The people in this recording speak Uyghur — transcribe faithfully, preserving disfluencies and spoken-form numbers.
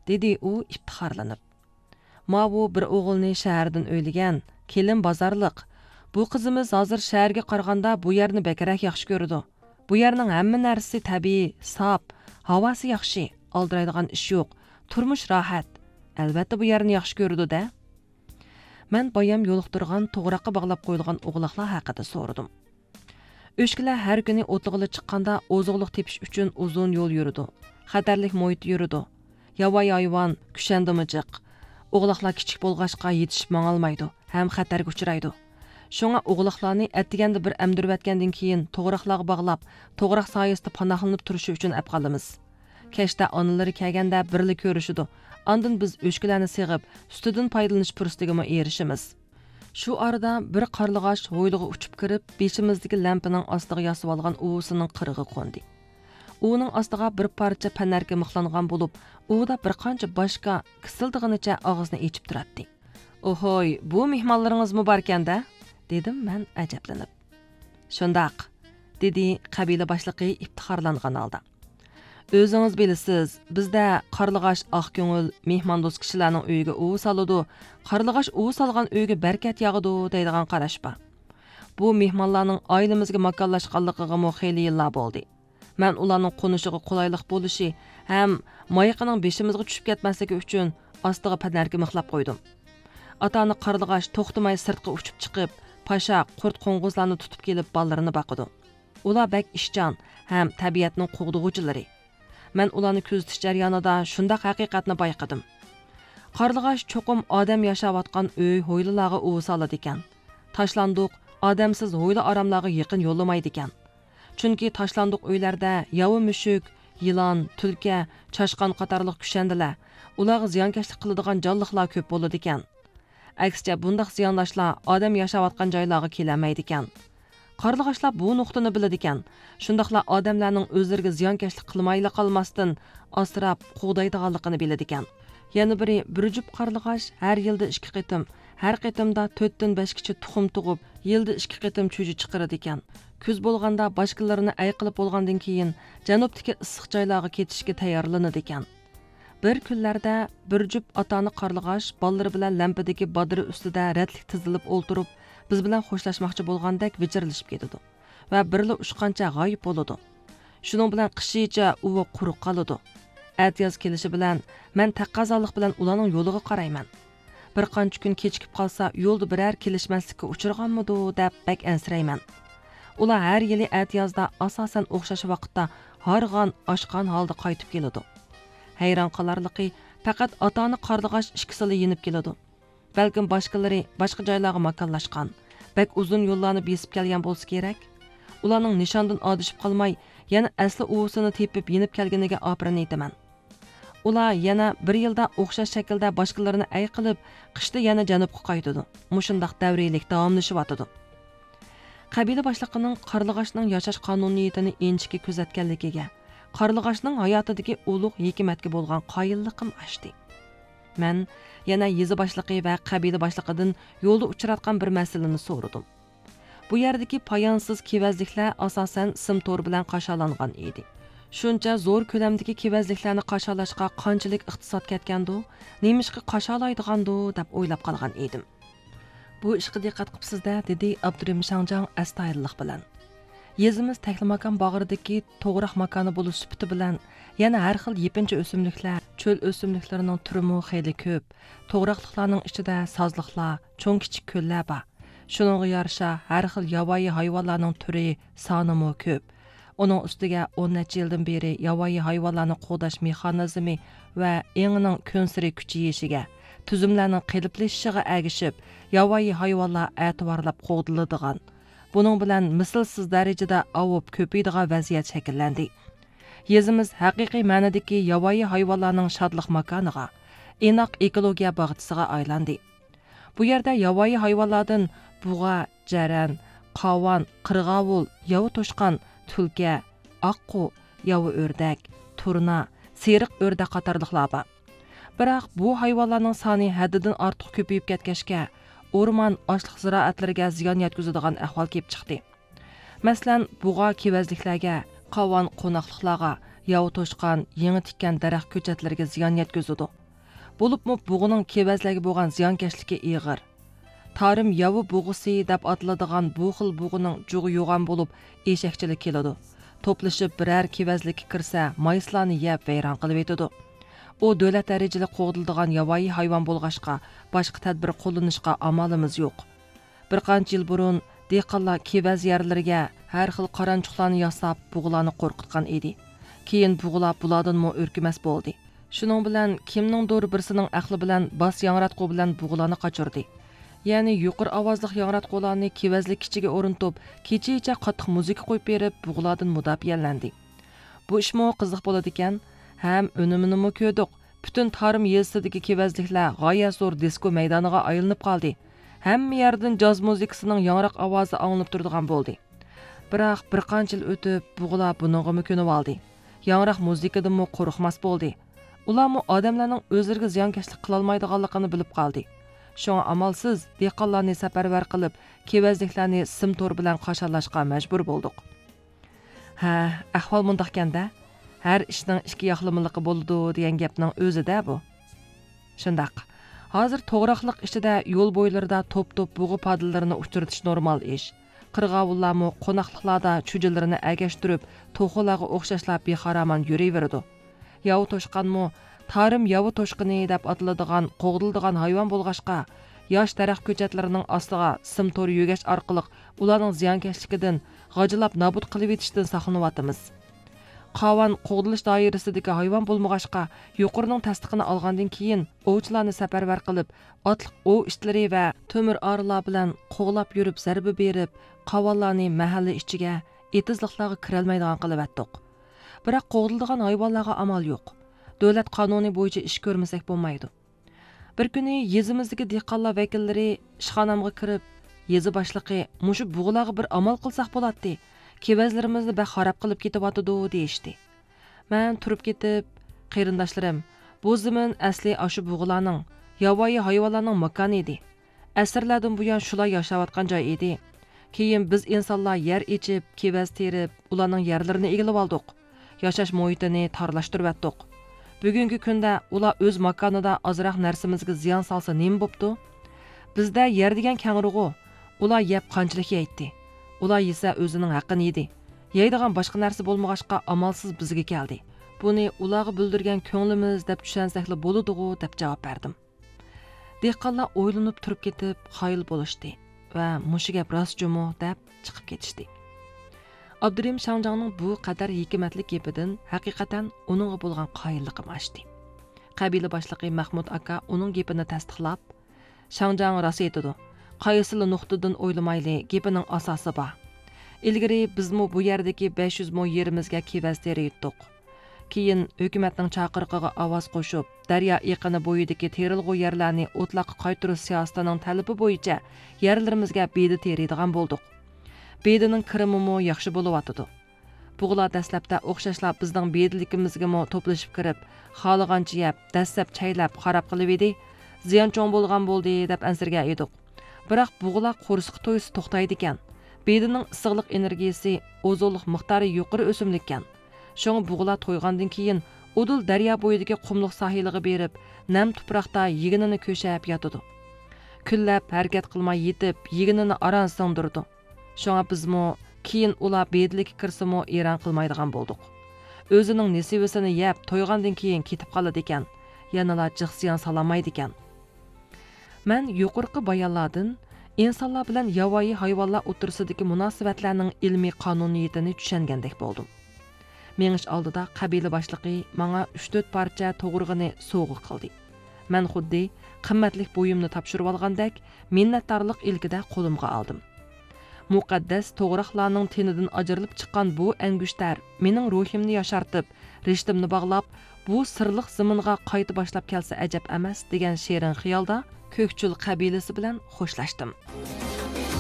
دېدى ئۇ ئىپتىخارلىنىپ. ماۋۇ بىر ئوغۇلنى شەھەردىن ئۆيلىگەن، كېلىن بازارلىق. بۇ قىزىمىز ھازىر شەھەرگە قارىغاندا بۇ يەرنى بەكرەك ياخشى كۆرىدۇ. بۇ يەرنىڭ ھەممە نەرسىسى تەبىئىي، ساپ، ھاۋاسى ياخشى، ئالدىرايدىغان ئىش يوق، تۇرمۇش راھەت. ئەلۋەتتە بۇ يەرنى ياخشى كۆرىدۇ-دە. مەن بايام يولۇقتۇرغان توغراققا باغلاپ قويۇلغان ئوغلاقلار ھەققىدە سورىدىم. ئۆچكىلەر ھەر كۈنى ئوتلىغىلى چىققاندا ئوزۇقلۇق تېپىش ئۈچۈن ئۇزۇن يول يۈرىدۇ، خەتەرلىك مۇھىتتا يۈرىدۇ. ياۋايى ھايۋان، كۈشەندىمۇ جىق. ئوغلاقلار كىچىك بولغاچقا يېتىشىپ ماڭالمايدۇ ھەم خەتەرگە ئۇچرايدۇ. شۇڭا ئوغلاقلارنى ئەتىگەندە بىر ئەمدۈرۈۋەتكەندىن كېيىن توغراقلارغا باغلاپ، توغراق سايىسىدا پاناھلىنىپ تۇرۇشى ئۈچۈن ئەپ قالىمىز. كەچتە ئانىلىرى كەلگەندە بىرلا كۆرۈشىدۇ. ئاندىن بىز ئۆچكىلەرنى سېغىپ، سۈتىدىن پايدىلىنىش پۇرسىتىگىمۇ ئېرىشىمىز. شۇ ئارىدا بىر قارلىغاچ ھويلىغا ئۇچۇپ كىرىپ، بېشىمىزدىكى لەمپىنىڭ ئاستىغا ياسىۋالغان ئۇۋىسىنىڭ قىرىغا قوندى. ئۇۋىنىڭ ئاستىغا بىر پارچە پەنەركە مىخلانغان بولۇپ، ئۇۋىدا بىر قانچە باشكا كىسىلدىغىنىچە ئاغزىنى ئېچىپ تۇراتتى. «ئوھوي، بۇ مېھمانلىرىڭىزمۇ باركەن-دە؟» دېدىم مەن ئەجەبلىنىپ. «شۇنداق»، دېدى قەبىلە باشلىقى ئىپتىخارلانغان ھالدا. «ئۆزىڭىز بىلىسىز، بىزدە قارلىغاچ ئاق كۆڭۈل، مېھماندوست كىشىلەرنىڭ ئۆيىگە ئۇۋا سالىدۇ، قارلىغاچ ئۇۋا سالغان ئۆيگە بەرىكەت ياغىدۇ دەيدىغان قاراش بار. بۇ مېھمانلارنىڭ ئائىلىمىزگە ماكانلاشقانلىقىغىمۇ خېلى يىللار بولدى. مەن ئۇلارنىڭ قونۇشىغا قولايلىق بولۇشى ھەم مايىقىنىڭ بېشىمىزغا چۈشۈپ كەتمەسلىكى ئۈچۈن ئاستىغا پەنەركە مىخلاپ قويدۇم. ئاتا-ئانا قارلىغاچ توختىماي سىرتقا ئۇچۇپ چىقىپ، پاشا، قۇرت-قوڭغۇزلارنى تۇتۇپ كېلىپ بالىلىرىنى باقىدۇ. ئۇلار بەك ئىشچان ھەم تەبىئەتنىڭ قوغدىغۇچىلىرى. مەن ئۇلارنى كۆزىتىش جەريانىدا شۇنداق ھەقىقەتنى بايقىدىم. قارلىغاچ چوقۇم ئادەم ياشاۋاتقان ئۆي، ھويلىلارغا ئۇۋا سالىدىكەن. تاشلاندۇق، ئادەمسىز ھويلا-ئاراملارغا يېقىن يوللىمايدىكەن. چۈنكى تاشلاندۇق ئۆيلەردە ياۋا مۈشۈك، يىلان، تۈلكە، چاشقان قاتارلىق كۈشەندىلەر، ئۇلارغا زىيانكەشلىك قىلىدىغان جانلىقلار كۆپ بولىدىكەن. ئەكسىچە، بۇنداق زىيانداشلار ئادەم ياشاۋاتقان جايلارغا كېلەلمەيدىكەن. قارلىغاچلار بۇ نۇقتىنى بىلىدىكەن. شۇنداقلا ئادەملەرنىڭ ئۆزلىرىگە زىيانكەشلىك قىلمايلا قالماستىن، ئاسراپ، قوغدايدىغانلىقىنى بىلىدىكەن. يەنە بىرى، بىر جۈپ قارلىغاچ ھەر يىلدا ئىككى قېتىم، ھەر قېتىمدا تۆتتىن بەشكىچە تۇخۇم تۇغۇپ، يىلدا ئىككى قېتىم چۈجە چىقىرىدىكەن. كۈز بولغاندا باشكىلىرىنى ئەي قىلىپ بولغاندىن كېيىن، جەنۇبتىكى ئىسسىق جايلارغا كېتىشكە تەييارلىنىدىكەن. بىر كۈنلەردە بىر جۈپ ئاتا-ئانا قارلىغاچ بالىلىرى بىلەن لەمپىدىكى بادىرى ئۈستىدە رەتلىك تىزىلىپ ئولتۇرۇپ، بىز بىلەن خوشلاشماقچى بولغاندەك ۋىچىرلىشىپ كېتىدۇ ۋە بىرلا ئۇچقانچە غايىب بولىدۇ. شۇنىڭ بىلەن قىشىچە ئۇۋا قۇرۇق قالىدۇ. ئەتىياز كېلىشى بىلەن مەن تەقەززالىق بىلەن ئۇلارنىڭ يولىغا قارايمەن. بىر قانچە كۈن كېچىكىپ قالسا، يولدا بىرەر كېلىشمەسلىككە ئۇچرىغانمىدۇ دەپ بەك ئەنسىرەيمەن. ئۇلار ھەر يىلى ئەتىيازدا ئاساسەن ئوخشاش ۋاقىتتا ھارغان، ئاچقان ھالدا قايتىپ كېلىدۇ. ھەيران قالارلىقى، پەقەت ئاتا-ئانا قارلىغاچ ئىككىسىلا يېنىپ كېلىدۇ. بەلكىم باشقىلىرى باشقا جايلارغا ماكانلاشقان، بەك ئۇزۇن يوللارنى بېسىپ كەلگەن بولسا كېرەك. ئۇلارنىڭ نىشاندىن ئادىشىپ قالماي، يەنە ئەسلى ئۇۋىسىنى تېپىپ يېنىپ كەلگىنىگە ئاپىرىن ئېيتىمەن. ئۇلار يەنە بىر يىلدا ئوخشاش شەكىلدە باشقىلىرىنى ئەي قىلىپ، قىشتا يەنە جەنۇبقا قايتىدۇ. مۇشۇنداق دەۋرىيلىك داۋاملىشىۋاتىدۇ. قەبىلە باشلىقىنىڭ قارلىغاچنىڭ ياشاش قانۇنىيىتىنى ئىنچىكە كۆزەتكەنلىكىگە، قارلىغاچنىڭ ھاياتىدىكى ئۇلۇغ ھېكمەتكە بولغان قايىللىقىم ئاشتى. مەن يەنە يېزا باشلىقى ۋە قەبىلە باشلىقىدىن يولدا ئۇچراتقان بىر مەسىلىنى سورىدىم. بۇ يەردىكى پايانسىز كېۋەزلىكلەر ئاساسەن سىم تورى بىلەن قاشالانغان ئىدى. شۇنچە زور كۆلەمدىكى كېۋەزلىكلەرنى قاشالاشقا قانچىلىك ئىقتىساد كەتكەندۇ، نېمىشقا قاشالايدىغاندۇ دەپ ئويلاپ قالغان ئىدىم. بۇ ئىشقا دىققەت قىپسىز-دە، دېدى ئابدۇرېھىم شاڭجاڭ ئەستايىدىللىق بىلەن. يېزىمىز تەكلىماكان باغرىدىكى توغراق ماكانى بولۇش سۈپىتى بىلەن، يەنە ھەر خىل يېپىنچا ئۆسۈملۈكلەر، چۆل ئۆسۈملۈكلىرىنىڭ تۈرىمۇ خېلى كۆپ. توغراقلىقلارنىڭ ئىچىدە سازلىقلار، چوڭ-كىچىك كۆللەر بار. شۇنىڭغا يارىشا، ھەر خىل ياۋايى ھايۋانلارنىڭ تۈرى، سانىمۇ كۆپ. ئۇنىڭ ئۈستىگە ئون نەچچە يىلدىن بېرى ياۋايى ھايۋانلارنى قوغداش مېخانىزمى ۋە ئېڭىنىڭ كۈنسېرى كۈچىيىشىگە، تۈزۈملەرنىڭ قېلىپلىشىشىغا ئەگىشىپ، ياۋايى ھايۋانلار ئەتىۋارلاپ قوغدىلىدىغان، بۇنىڭ بىلەن مىسلىسىز دەرىجىدە ئاۋۇپ كۆپىيىدىغان ۋەزىيەت شەكىللەندى. يېزىمىز ھەقىقىي مەنىدىكى ياۋايى ھايۋانلارنىڭ شادلىق ماكانىغا، ئىناق ئېكولوگىيە باغچىسىغا ئايلاندى. بۇ يەردە ياۋايى ھايۋانلاردىن بۇغا، جەرەن، قاۋان، قىرغاۋۇل، ياۋا توشقان، تۈلكە، ئاققۇ، ياۋا ئۆردەك، تۇرنا، سېرىق ئۆردەك قاتارلىقلار بار. بىراق بۇ ھايۋانلارنىڭ سانى ھەددىدىن ئارتۇق كۆپىيىپ كەتكەچكە، ئورمان، ئاشلىق زىرائەتلىرىگە زىيان يەتكۈزىدىغان ئەھۋال كېلىپ چىقتى. مەسىلەن، بۇغا كېۋەزلىكلەرگە، قاۋان قوناقلىقلارغا، ياۋا توشقان يېڭى تىككەن دەرەخ كۆچەتلىرىگە زىيان يەتكۈزىدۇ. بولۇپمۇ بۇغىنىڭ كېۋەزلەرگە بولغان زىيانكەشلىكى ئېغىر. تارىم ياۋا بۇغىسى دەپ ئاتىلىدىغان بۇ خىل بۇغىنىڭ جۇغى يوغان بولۇپ، ئېشەكچىلىك كېلىدۇ. توپلىشىپ بىرەر كېۋەزلىككە كىرسە، مايسىلارنى يەپ ۋەيران قىلىۋېتىدۇ. ئۇ دۆلەت دەرىجىلىك قوغدىلىدىغان ياۋايى ھايۋان بولغاچقا، باشقا تەدبىر قوللىنىشقا ئامالىمىز يوق. بىر قانچە يىل بۇرۇن دېھقانلار كېۋەز يەرلىرىگە ھەر خىل قارانچۇقلارنى ياساپ، بۇغىلارنى قورقۇتقان ئىدى. كېيىن بۇغىلار بۇلاردىنمۇ ئۆركۈمەس بولدى. شۇنىڭ بىلەن كىمنىڭدۇر بىرسىنىڭ ئەقلى بىلەن باس ياڭراتقۇ بىلەن بۇغىلارنى قاچۇردى. يەنى يۇقىرى ئاۋازلىق ياڭراتقۇلارنى كېۋەزلىك كىچىگە ئورنىتىپ، كېچىچە قاتتىق مۇزىكا قويۇپ بېرىپ، بۇغىلاردىن مۇداپىئەلەندى. بۇ ئىشمۇ قىزىق بولىدىكەن، ھەم ئۈنۈمىنىمۇ كۆردۇق. پۈتۈن تارىم يېزىسىدىكى كېۋەزلىكلەر غايەت زور دىسكو مەيدانىغا ئايلىنىپ قالدى. ھەممە يەردىن جاز مۇزىكىسىنىڭ ياڭراق ئاۋازى ئاڭلىنىپ تۇرىدىغان بولدى. بىراق، بىر قانچە يىل ئۆتۈپ، بۇغىلار بۇنىڭغىمۇ كۆنۈۋالدى. ياڭراق مۇزىكىدىنمۇ قورقماس بولدى. ئۇلارمۇ ئادەملەرنىڭ ئۆزلىرىگە زىيانكەشلىك قىلالمايدىغانلىقىنى بىلىپ قالدى. شۇڭا ئامالسىز دېھقانلارنى سەپەرۋەر قىلىپ، كېۋەزلىكلەرنى سىم تور بىلەن قاشالاشقا مەجبۇر بولدۇق. ھە، ئەھۋال مۇنداقكەن-دە، ھەر ئىشنىڭ ئىككى ياقلىمىلىقى بولىدۇ دېگەن گەپنىڭ ئۆزى-دە بۇ. شۇنداق. ھازىر توغراقلىق ئىچىدە يول بويلىرىدا توپ-توپ بۇغا پادىلىرىنى ئۇچرىتىش نورمال ئىش. قىرغاۋۇللارمۇ قوناقلىقلاردا چۈجىلىرىنى ئەگەشتۈرۈپ، توخۇلارغا ئوخشاشلا بىخارامان يۈرۈۋېرىدۇ. ياۋا توشقانمۇ تارىم ياۋا توشقىنى دەپ ئاتىلىدىغان قوغدىلىدىغان ھايۋان بولغاچقا، ياش دەرەخ كۆچەتلىرىنىڭ ئاستىغا سىم تور يۆگەش ئارقىلىق ئۇلارنىڭ زىيانكەشلىكىدىن، غاجىلاپ نابۇت قىلىۋېتىشتىن ساقلىنىۋاتىمىز. قاۋان قوغدىلىش دائىرىسىدىكى ھايۋان بولمىغاچقا، يۇقىرىنىڭ تەستىقىنى ئالغاندىن كېيىن، ئوۋچىلارنى سەپەرۋەر قىلىپ، ئاتلىق ئوۋ ئىتلىرى ۋە تۆمۈر ئارىلار بىلەن قوغلاپ يۈرۈپ، زەربە بېرىپ، قاۋانلارنى مەھەللە ئىچىگە، ئېتىزلىقلارغا كىرەلمەيدىغان قىلىۋەتتۇق. بىراق، قوغدىلىدىغان ھايۋانلارغا ئامال يوق. دۆلەت قانۇنى بويىچە ئىش كۆرمىسەك بولمايدۇ. بىر كۈنى يېزىمىزدىكى دېھقانلار ۋەكىللىرى ئىشخانامغا كىرىپ، يېزا باشلىقى مۇشۇ بۇغىلارغا بىر ئامال قىلساق بولاتتى، كېۋەزلىرىمىزنى بەك خاراب قىلىپ كېتىۋاتىدۇ، دېيىشتى. مەن تۇرۇپ كېتىپ، قېرىنداشلىرىم، بۇ زېمىن ئەسلى ئاشۇ بۇغىلارنىڭ، ياۋايى ھايۋانلارنىڭ ماكانى ئىدى. ئەسىرلەردىن بۇيان شۇلار ياشاۋاتقان جاي ئىدى. كېيىن بىز ئىنسانلار يەر ئېچىپ، كېۋەز تېرىپ، ئۇلارنىڭ يەرلىرىنى ئىگىلىۋالدۇق. ياشاش مۇھىتىنى تارلاشتۇرۇۋەتتۇق. بۈگۈنكى كۈندە ئۇلار ئۆز ماكانىدا ئازراق نەرسىمىزگە زىيان سالسا نېمە بوپتۇ؟ بىزدە يەر دېگەن كەڭرىغۇ، ئۇلار يەپ قانچىلىك يەيتتى؟ ئۇلار يېسە ئۆزىنىڭ ھەققىنى يېدى. يەيدىغان باشقا نەرسە بولمىغاچقا ئامالسىز بىزگە كەلدى. بۇنى ئۇلارغا بىلدۈرگەن كۆڭلىمىز دەپ چۈشەنسەكلا بولىدىغۇ دەپ جاۋاب بەردىم. دېھقانلار ئويلىنىپ تۇرۇپ كېتىپ قايىل بولۇشتى ۋە مۇشۇ گەپ راست جۇمۇ دەپ چىقىپ كېتىشتى. ئابدۇرېھىم شاڭجاڭنىڭ بۇ قەدەر ھېكمەتلىك گېپىدىن ھەقىقەتەن ئۇنىڭغا بولغان قايىللىقىم ئاشتى. قەبىلە باشلىقى مەخمۇت ئاكا ئۇنىڭ گېپىنى تەستىقلاپ، شاڭجاڭ راست ئېيتىدۇ. قايسىلا نۇقتىدىن ئويلىمايلى، گېپىنىڭ ئاساسى بار. ئىلگىرى بىزمۇ بۇ يەردىكى بەش يۈز مو يېرىمىزگە كېۋەز تېرىيتتۇق. كېيىن ھۆكۈمەتنىڭ چاقىرىقىغا ئاۋاز قوشۇپ، دەريا ئېقىنى بويىدىكى تېرىلغۇ يەرلەرنى ئوتلاققا قايتۇرۇش سىياسىتىنىڭ تەلىپى بويىچە يەرلىرىمىزگە بېدە تېرىيدىغان بولدۇق. بېدىنىڭ كىرىمىمۇ ياخشى بولۇۋاتىدۇ. بۇغىلار دەسلەپتە ئوخشاشلا بىزنىڭ بېدىلىكىمىزگىمۇ توپلىشىپ كىرىپ، خالىغانچە يەپ، دەسسەپ چەيلەپ خاراب قىلىۋىدى. زىيان چوڭ بولغان بولدى دەپ ئەنسىرىگەن ئىدۇق. بىراق بۇغىلار قورسىقى تويسا توختايدىكەن. بېدىنىڭ ئىسسىقلىق ئېنېرگىيىسى، ئوزۇقلۇق مىقدارى يۇقىرى ئۆسۈملۈككەن. شۇڭا بۇغىلار تويغاندىن كېيىن ئۇدۇل دەريا بويىدىكى قۇملۇق ساھىلىغا بېرىپ، نەم تۇپراقتا يېگىنىنى كۆشەپ ياتىدۇ. كۈنلەپ ھەرىكەت قىلماي يېتىپ، يېگىنىنى ئاران سىڭدۈرىدۇ. شۇڭا بىزمۇ كېيىن ئۇلار بېدىلىككە كىرسىمۇ ئېرەن قىلمايدىغان بولدۇق. ئۆزىنىڭ نېسىۋىسىنى يەپ تويغاندىن كېيىن كېتىپ قالىدىكەن، يەنىلا جىق زىيان سالالمايدىكەن. مەن يۇقىرىقى بايانلاردىن ئىنسانلار بىلەن ياۋايى ھايۋانلار ئوتتۇرىسىدىكى مۇناسىۋەتلەرنىڭ ئىلمىي قانۇنىيىتىنى چۈشەنگەندەك بولدۇم. مېڭىش ئالدىدا قەبىلە باشلىقى ماڭا ئۈچ تۆت پارچە توغرىغىنى سوۋغا قىلدى. مەن خۇددى قىممەتلىك بۇيۇمنى تاپشۇرۇۋالغاندەك، مىننەتدارلىق ئىلكىدە قولۇمغا ئالدىم. مۇقەددەس توغراقلارنىڭ تېنىدىن ئاجرىلىپ چىققان بۇ ئەنگۈشتەر مېنىڭ روھىمنى ياشارتىپ، رىشتىمنى باغلاپ، بۇ سىرلىق زېمىنغا قايتا باشلاپ كەلسە ئەجەب ئەمەس، دېگەن شېرىن خىيالدا كۆكچۈل قەبىلىسى بىلەن خوشلاشتىم.